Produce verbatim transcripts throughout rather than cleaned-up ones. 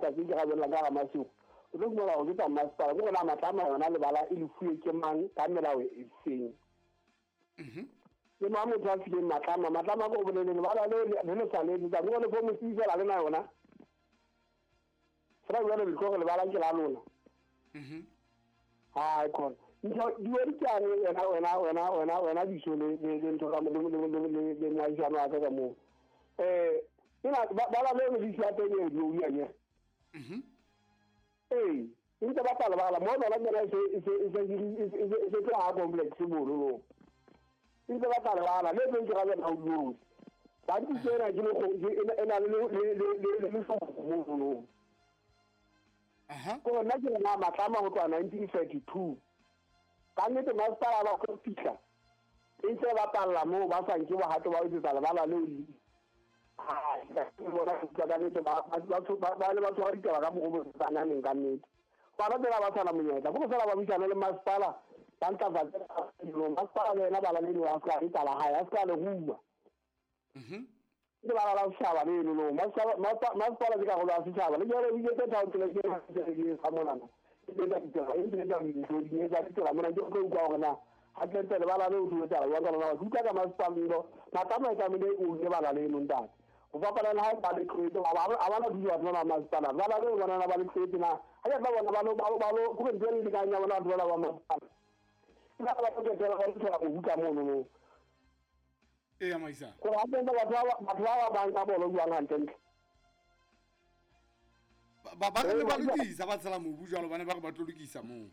ngata tse ke ga bolela ka ga Masigo o tlo fumana gore ke tsa masepala ke gona Matlama yona lebala e lefuwe ke mang ka melao e feng ke mang motho a fileng Matlama Matlama ko bolele lebala le le le sa le tsa mo le fo mosifela le na yona fela jalo le tlo lebala ke la lona mhm ha khona ntho di ke a re wena wena wena wena wena diso le le ntho ka le le le le moahisano wa ka ka moo eh ina bala le le sia teng e lo ya ye mhm eh ntse ba pala bala mo bala ngena se se se se se tla complex bolo lo ntse ba pala bala le teng ke ga ba o lo ba di tsena ke le go e na le le le le le mo lo aha ko nna ke na Matlama go tloha nineteen thirty-two ka nnete masepala ba go fihla e ntse ba palla moo ba sa nke bohato ba ho etsetsa lebala leo le bona ka nnete ba ba le ba tshwara ditaba ka mokgwa o sa naneng ka nnete ba ba tsela ba tshwana monyetla go fela ba buisana le masepala ba ntlafatse masepala le yena bala le a ska etsa la hae a ska le rua mhm ke bala la setjhaba leno no masepala ke karolo ya setjhaba le jwale o iketse town ke ke sa monana e etsa ditsela e etsa dintho di etsa ditsela mona ke tlo utlwa hore na hantle lebala leo o etsa jwang ka lona ke utlwa ka masepala lo Matlama e tlamehile o lebala leno ntate go fapana le ha ba le tloetse ba ba ba na thuso batho ba masepala ba ba le bona ba le tloetse na ha ke tla bona ba lo ba lo go ntse le dikanya bona batho ba ba masepala ke ba ba tlo tsela ba tloela go buka mono no e ya maisa go ha teng batho ba batho ba ba nka bolo jwang hantle ba ba re ba lokisa ba tshela mobu jwalo bana ba re ba tlo lokisa moo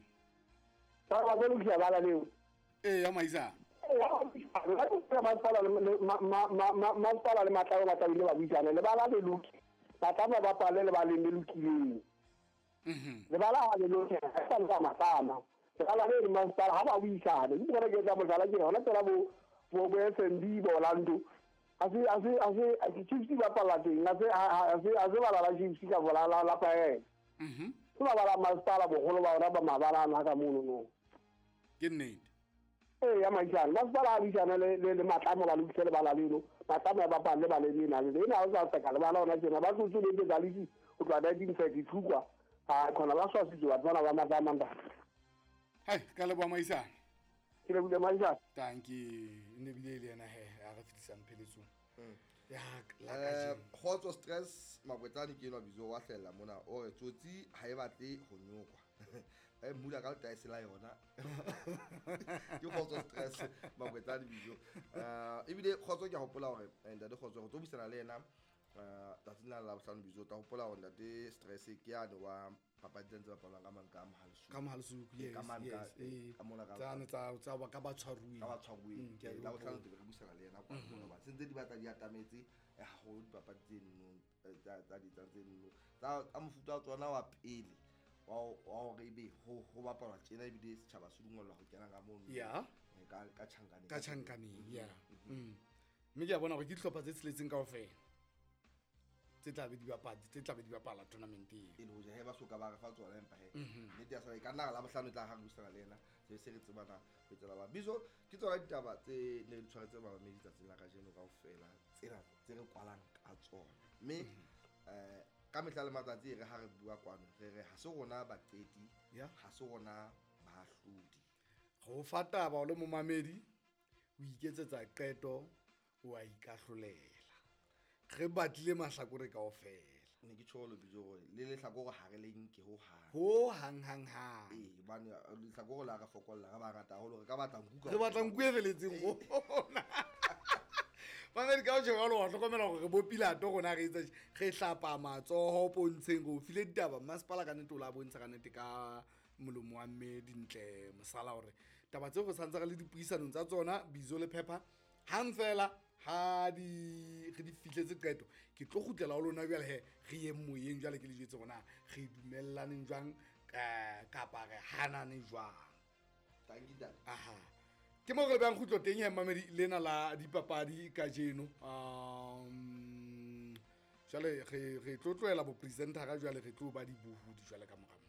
ba ba tlo lokisa bala leo e ya maisa masepala le masepala le Matlama ba tlamehile ba buisane lebala le loke Matlama ba pale lebaleng le lokileng mhm lebala ha le loke ha sa le Matlama lebala le le masepala ha ba buisane ke bona ke tsa mohlala ke hona tsela bo bo bo F N B bo Orlando a se a se a se Chiefs ba pala teng a se a se a se bala la Chiefs ka bola la la pae mhm ke ba bala masepala bogolo ba ona ba mabala ana ka mono no ke nnete e ya maisana masepala a buisana le le Matlama ba lokise lebala leno Matlama ba palle ba le lena le ena o sa tsaka lebala ona tjena ba tlotse le tsa lisi go tloha nineteen thirty-two kwa ha khona ba swasitse batho bana ba Matlama nda hai ka leboha maisana ke le bule maisana thank you ne bile le yena he a re fitisang pheletsong ya la ka kgotso stress Makwetsane ke enwa bizo wa hlella mona o re tsotsi ha e batle ho nyokwa ba mmula ka letaese la yona ke kgotso stress Makwetsane bizo eh ebile kgotso ke a hopola hore ntate kgotso go tlo buisana le yena eh tsatsing la Labohlano bizo ta hopola hore ntate stress ke yane wa papadi tse bapalwang ka mang ka Mohalesuku ka Mohalesuku yes ka mang ka ka mona ka tsane tsa tsa ba ka ba tshwaruweng ka ba tshwaruweng la bohlano ke re buisana le yena kwa mona ba sentse di batla di atametse haholo dipapadi tse nno tsa tsa di tsa tse nno tsa tsa mofuta wa tsona wa pele wa wa hore ebe ho ho bapalwa tjena ebile setjhaba se dungwellwa ho kena ka mono ya ka ka tjhankaneng ka tjhankaneng ya mme ke a bona hore ke dihlopha tse tsheletseng kaofela tse tla be di bapala tse tla be di bapala tournament eo e le hoja he ba soka ba re fa tsona empa he nnete ya sa ka nna la bohlano tla ha re buisana le yena se se re tsebana ho tsela ba bizo ke tsona ditaba tse ne di tshwaretse bamamedi tsatsing la kajeno kaofela tsena tse re kwalang ka tsona mme eh ka mehla le matsatsi re ha re bua kwano re re ha se rona baqeti ha se rona bahlodi go fa taba o le momamedi o iketsetsa qeto o a ikahlolela re batlile mahlakore kaofela ne ke tjho lo bizo hore le lehlakore ha re le nke ho hang ho hang hang hang ee bane lehlakore la re fokolla re ba rata haholo re ka batla nku ka re batla nku e feletseng rona mamedi ka o tjho wa hlokomela hore re bo Pilato rona re etsa re hlapa matsoho pontsheng re o file ditaba masepala ka nnete o la bontsha ka nnete ka molomo wa mme Dintle Mosala hore taba tseo re santse re le dipuisanong tsa tsona bizo le phepha hang fela ha di re di fihletse qeto ke tlo kgutlela ho lona jwale he re ye moyeng jwale ke le jwetse rona re dumellaneng jwang kapa re hanane jwang thank you dad aha ke mo re bang kgutlo teng he mamedi lena la dipapadi kajeno um jwale re re tlo tlohela bo presenter jwale re tlo ba dibohodi jwale ka mora.